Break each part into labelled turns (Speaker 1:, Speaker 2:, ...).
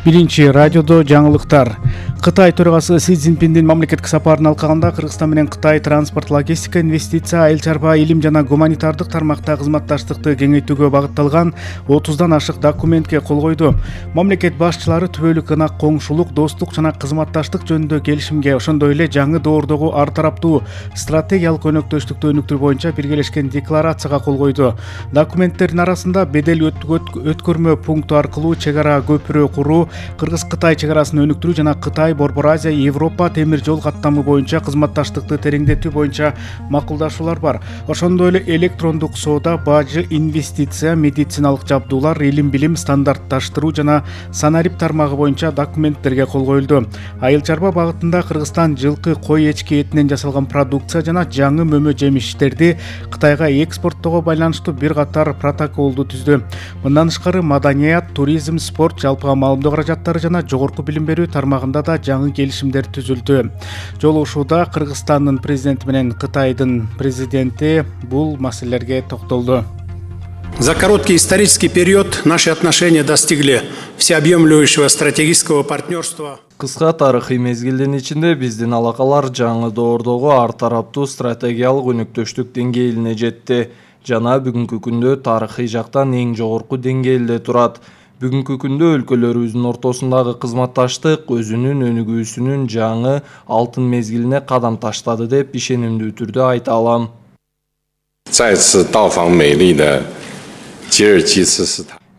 Speaker 1: Биринчи радиодо жаңылыктар. Кытай төрагасы Си Цзиньпиндин мамлекеттик сапарынын алкагында Кыргызстан менен Кытай транспорт, логистика, инвестиция, айыл чарба, илим жана гуманитардык тармакта кызматташтыкты кеңейтүүгө багытталган 30дан ашык документке кол койду. Мамлекет башчылары түбөлүк ынак коңшулук, достук жана кызматташтык жөнүндө келишимге, ошондой эле жаңы доордогу ар тараптуу стратегиялык өнөктөштүктү өнүктүрүү боюнча биргелешкен декларацияга кол койду. Документтердин арасында бедел өткөрмө пункту аркылуу чек ара көпүрө куруу, Кыргыз-Кытай чек арасын өнүктүрүү жана Кытай, Борбор Азия, Европа темир жол каттамы боюнча кызматташтыкты тереңдетүү боюнча макулдашуулар бар. Ошондой эле электрондук соода, бажы, инвестиция, медициналык жабдуулар, илим-билим, стандартташтыруу жана санарип тармагы боюнча документтерге кол коюлду. Айыл чарба багытында Кыргызстан жылкы, кой, эчки этинен жасалган продукция жана жаңы мөмө жемиштерди Кытайга экспорттоого байланыштуу бир катар протоколду түздү. Мындан тышкары маданият, туризм, спорт, жалпыга маалымдоо каражаттары жана жогорку билим берүү тармагында да жаңы келишимдер түзүлдү. Жолугушууда Кыргызстандын президенти менен Кытайдын президенти бул маселелерге токтолду.
Speaker 2: За короткий исторический период наши отношения достигли всеобъемлющего стратегического партнерства.
Speaker 3: Кыска тарыхый мезгилдин ичинде биздин алакалар жаңы доордогу ар тараптуу стратегиялык өнүктөштүк деңгээлине жетти жана бүгүнкү күндө тарыхый жактан эң жогорку деңгээлде турат. Бүгүнкү күндө өлкөлөрүбүздүн ортосундагы кызматташтык өзүнүн өнүгүүсүнүн жаңы алтын мезгилине кадам таштады деп ишенимдүү түрдө айта алам.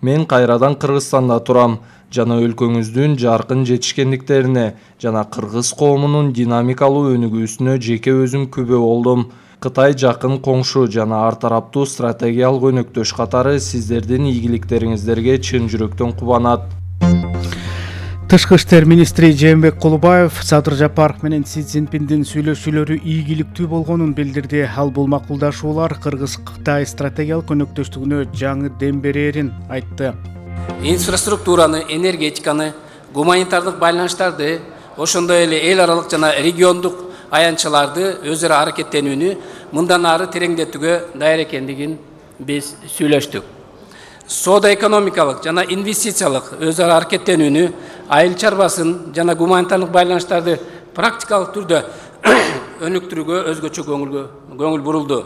Speaker 3: Мен кайрадан Кыргызстанда турам жана өлкөңүздүн жаркын жетишкендиктерине жана кыргыз коомунун динамикалуу өнүгүүсүнө жеке өзүм күбө болдум. Кытай жакын коңшу жана ар тараптуу стратегиялык өнөктөш катары сиздердин ийгиликтериңиздерге чын жүрөктөн кубанат.
Speaker 1: Тышкы иштер министри Жээнбек Кулубаев Садыр Жапаров менен Си Цзиньпиндин сүйлөшүүлөрү ийгиликтүү болгонун билдирди. Ал бул макулдашуулар Кыргыз-Кытай стратегиялык өнөктөштүгүнө жаңы дем берерин айтты.
Speaker 4: Инфраструктураны, энергетиканы, гуманитардык байланыштарды, ошондой эле эл аралык жана региондук аянтчаларды өз ара аракеттенүүнү мындан ары тереңдетүүгө даяр экендигин биз сүйлөштүк. Соода экономикалык жана инвестициялык өз ара аракеттенүүнү, айыл чарбасын жана гуманитарлык байланыштарды практикалык түрдө өнүктүрүүгө өзгөчө көңүл бурулду.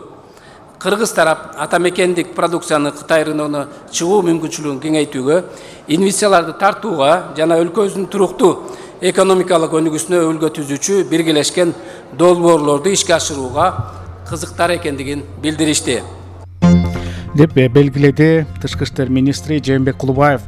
Speaker 4: Кыргыз тарап ата мекендик продукцияны Кытай рыногуна чыгуу мүмкүнчүлүгүн кеңейтүүгө, инвестицияларды тартууга жана өлкөбүздүн туруктуу экономикалык өнүгүүсүнө өбөлгө түзүүчү биргелешкен долбоорлорду ишке ашырууга кызыктар экендигин билдиришти.
Speaker 1: Деп белгиледи Тышкы иштер министри Жээнбек Кулубаев.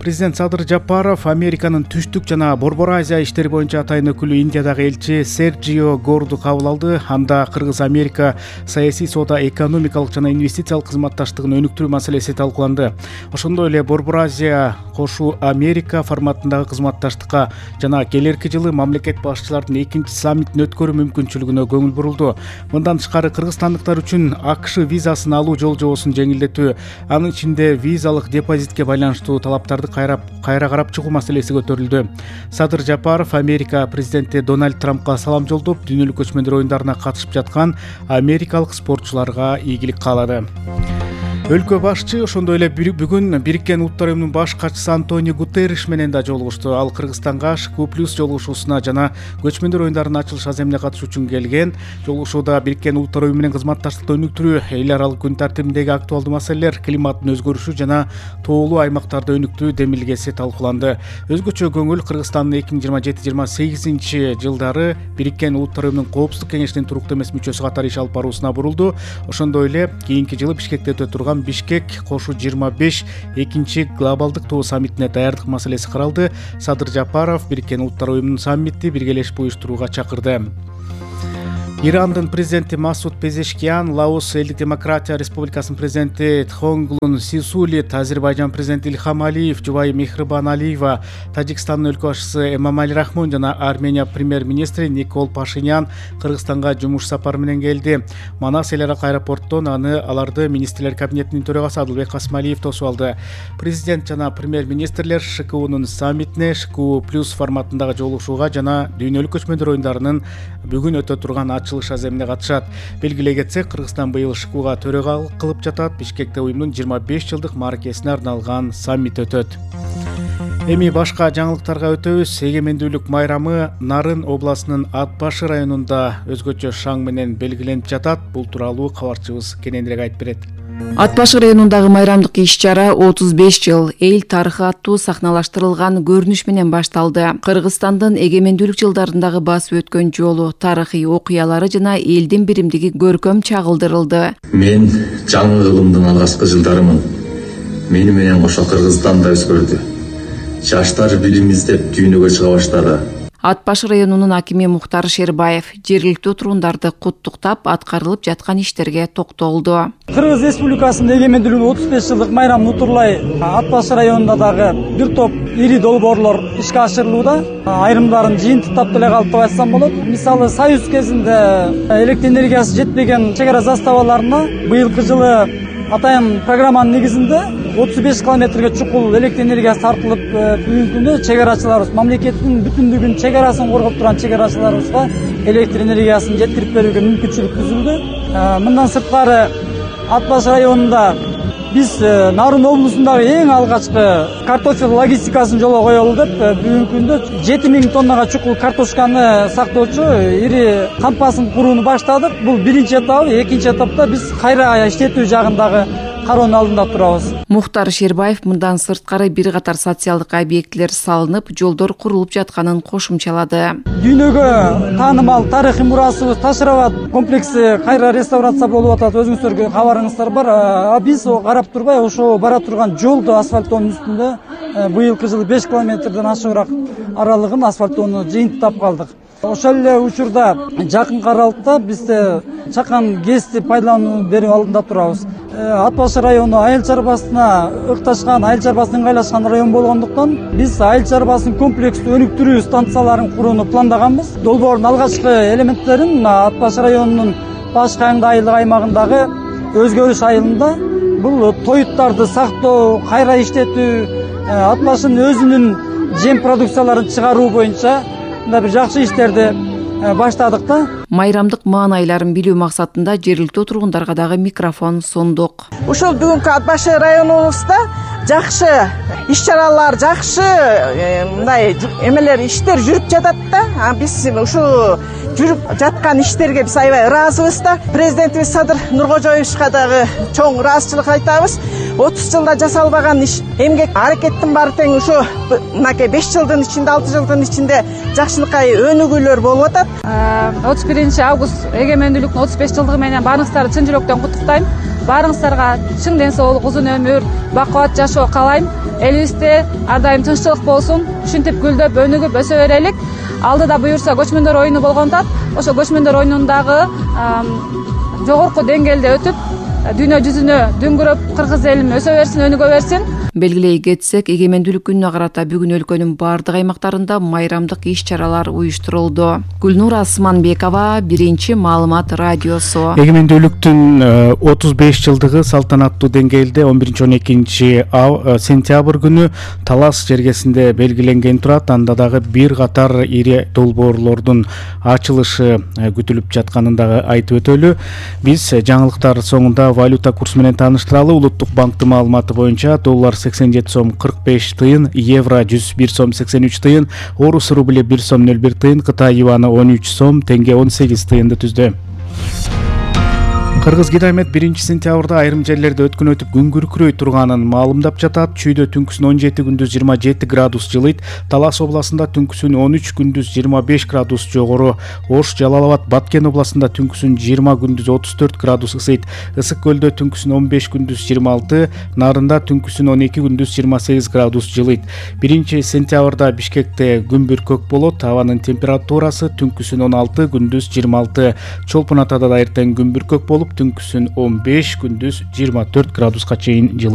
Speaker 1: Президент Садыр Жапаров Американын түштүк жана Борбор Азия иштери боюнча атайын өкүлү Индиядагы элчи Серджио Горду кабыл алды. Анда Кыргыз-Америка саясий, соода, экономикалык жана инвестициялык кызматташтыгын өнүктүрүү маселеси талкууланды. Ошондой эле Борбор Азия кошу Америка форматындагы кызматташтыкка жана келерки жылы мамлекет башчыларынын экинчи саммитин өткөрүү мүмкүнчүлүгүнө көңүл бурулду. Мындан тышкары кыргызстандыктар үчүн АКШ визасын алуу жол жобосун жеңилдетүү, анын ичинде визалык депозитке байланыштуу талаптарды кайра карап чыгуу маселеси көтөрүлдү. Садыр Жапаров Америка президенти Дональд Трампка салам жолдоп, дүйнөлүк көчмөндөр оюндарына катышып жаткан америкалык спортчуларга ийгилик каалады. Өлкө башчы ошондой эле бүгүн Бириккен Улуттар уюмунун баш катчысы Антонио Гутерриш менен да жолугушту. Ал Кыргызстанга ШКУ+ жолугушуусуна жана көчмөндөр оюндарынын ачылыш аземине катышуу үчүн келген. Жолугушууда Бириккен Улуттар уюму менен кызматташтыкты өнүктүрүү, эл аралык күн тартибиндеги актуалдуу маселелер, климаттын өзгөрүшү жана тоолуу аймактарды өнүктүү демилгеси талкууланды. Өзгөчө көңүл Кыргызстандын 2027-28 жылдары Бириккен Улуттар уюмунун Коопсуздук кеңешинин туруктуу эмес мүчөсү катары иш алып баруусуна бурулду. Ошондой эле кийинки жылы Бишкекте өтө турган Бишкек кошу 25 экинчи глобалдык тоо саммитине даярдык маселеси каралды. Садыр Жапаров Бириккен Улуттар уюмунун саммитти биргелешип уюштурууга чакырды. Ирандын президенти Масуд Пезешкиян, Лаос Элдик демократия республикасынын президенти Тхонгулун Сисулит, Азербайжан президенти Ильхам Алиев, жубайы Мехрибан Алиева, Тажикстандын өлкө башчысы Эмомали Рахмон жана Армения премьер-министри Никол Пашинян Кыргызстанга жумуш сапары менен келди. Манас эл аралык аэропорттон аларды министрлер кабинетинин төрагасы Адылбек Касымалиев тосуп алды. Президент жана премьер-министрлер ШКУнун саммитине ШКУ+ форматындагы жолугушууга жана дүйнөлүк көчмөндөр оюндарынын бүгүн өтө турган ачылыш аземине катышат. Белгилей кетсек, Кыргызстан быйыл ШКУга төрагалык кылып жатат. Бишкекте уюмдун 25 жылдык мааракесине арналган саммит өтөт. Эми башка жаңылыктарга өтөбүз. Эгемендүүлүк майрамы Нарын областынын Ат Башы районунда өзгөчө шаң менен белгиленип жатат. Бул тууралуу кабарчыбыз кененирээк айтып берет.
Speaker 5: Ат Башы районундагы майрамдык иш-чара 35 жыл эл тарыхы аттуу сахналаштырылган көрүнүш менен башталды. Кыргызстандын эгемендүүлүк жылдарындагы басып өткөн жолу, тарыхый окуялары жана элдин биримдиги көркөм чагылдырылды.
Speaker 6: Мен жаңы кылымдын алгачкы жылдарымын. Мени менен кошо Кыргызстанда өскөрдү. Жаштар билим издеп дүйнөгө чыга баштады.
Speaker 5: Ат Башы районунун акими Мухтар Шербаев жергиликтүү турундарды куттуктап, аткарылып жаткан иштерге токтолду.
Speaker 7: Кыргыз Республикасынын эгемендүүлүгүнүн 35 жылдык майрамын утурлай Ат Башы районунда дагы бир топ ири долбоорлор ишке ашырылууда. Айрымдарын жыйынтыктап деле калып деп айтсам болот. Мисалы, Союз кезинде электр энергиясы жетпеген чек ара заставаларына быйылкы жылы атайын программанын негизинде 35 километрге чукул электр энергиясы тартылып, бүгүнкү күндө чек арачыларыбыз, мамлекеттин бүтүндүгүн чек арасын коргоп турган чек арачыларыбызга электр энергиясын жеткирип берүүгө мүмкүнчүлүк түзүлдү. Мындан сырткары Ат Башы районунда биз Нарын облусундагы эң алгачкы картофел логистикасын жолго коелу деп, бүгүнкү күндө 7000 тоннага чукул картошканы сактоочу ири кампасын курууну баштадык. Бул биринчи этап, экинчи этапта биз кайра иштетүү жагындагы кароонун алдында турабыз.
Speaker 5: Мухтар Шербаев мындан сырткары бир катар социалдык объектилер салынып, жолдор курулуп жатканын кошумчалады.
Speaker 7: Дүйнөгө таанымал тарыхый мурасыбыз Таш-Рабат комплекси кайра реставрация болуп атат. Өзүңүздөргө кабарыңыздар бар. Биз карап турбай ошо бара турган жолду асфальттоонун үстүндө быйылкы жылы 5 километрден ашыгыраак аралыгын асфальттоону жыйынтыктап калдык. Ошол эле учурда жакынкы аралыкта бизде чакан ГЭСти пайдалануу берүү алдында турабыз. Ат Башы району айыл чарбасына ыкташкан, айыл чарбасына ыңгайлашкан район болгондуктан биз айыл чарбасын комплекстүү өнүктүрүү станцияларын курууну пландаганбыз. Долбоордун алгачкы элементтерин Ат Башы районунун Баш Кайыңды айылдык аймагындагы Өзгөрүш айылында бул тоюттарды сактоо, кайра иштетүү, Ат Башынын өзүнүн жем продукцияларын чыгаруу боюнча бир жакшы иштерди баштадык да.
Speaker 5: Майрамдык маанайларын билүү максатында жергиликтүү тургундарга дагы микрофон сундук.
Speaker 8: Ушул бүгүнкү Ат Башы районубузда жакшы иш-чаралар, жакшы мындай эмелер, иштер жүрүп жатат да. Биз ушу жүрүп жаткан иштерге биз аябай ыраазыбыз да. Президентибиз Садыр Нуркожоевичка дагы чоң ыраазычылык айтабыз. 30 жылда жасалбаган иш, эмгек, аракеттин баары тең ушу мынакей 5 жылдын ичинде, 6 жылдын ичинде жакшынакай өнүгүүлөр болуп атат.
Speaker 9: 31 август эгемендүүлүктүн 35 жылдыгы менен баарыңыздарды чын жүрөктөн куттуктайм. Баарыңыздарга чын ден соолук, узун өмүр, бакубат жашоо каалайм. Элибизде ар дайым тынччылык болсун, ушинтип гүлдөп, өнүгүп өсө берелик. Алдыда буюрса көчмөндөр оюну болгон атат. Ошо көчмөндөр оюнундагы жогорку деңгээлде өтүп, дүйнө жүзүнө дүңгүрөп, кыргыз элим өсө берсин, өнүгө берсин.
Speaker 5: Белгилей кетсек, эгемендүүлүк күнүнө карата бүгүн өлкөнүн бардык аймактарында майрамдык иш-чаралар уюштурулду. Гүлнур Асманбекова, Биринчи маалымат радиосу.
Speaker 1: Эгемендүүлүктүн 35 жылдыгы салтанаттуу деңгээлде 11-12 сентябрь күнү Талас жергесинде белгиленген турат. Анда дагы бир катар ири долбоорлордун ачылышы күтүлүп жатканын дагы айтып өтөлү. Биз жаңылыктар соңунда валюта курсу менен тааныштыралы. Улуттук банктын маалыматы боюнча доллар 87 сом 45 тыйын, евро 101 сом 83 тыйын, орус рубли 1 сом 01 тыйын, Кытай юаны 13 сом, тенге 18 тыйынды түздү. Кыргыз Гидромет 1-сентябрда айрым жерлерде өткөн өтүп күн күркүрөй турганын маалымдап жатат. Чүйдө түнкүсүн 17, күндүз 27 градус жылыйт. Талас областында түнкүсүн 13, күндүз 25 градус жогору. Ош, Жалал-Абад, Баткен областында түнкүсүн 20, күндүз 34 градус ысыйт. Ысык көлдө түнкүсүн 15, күндүз 26, Нарында түнкүсүн 12, күндүз 28 градус жылыйт. 1-сентябрда Бишкекте күн бүркөк болот. Абанын температурасы түнкүсүн 16, күндүз 26. Чолпон Атада да эртең күн бүркөк болуп, түнкүсүн 15, күндүз 24 градуска чейин жылыйт.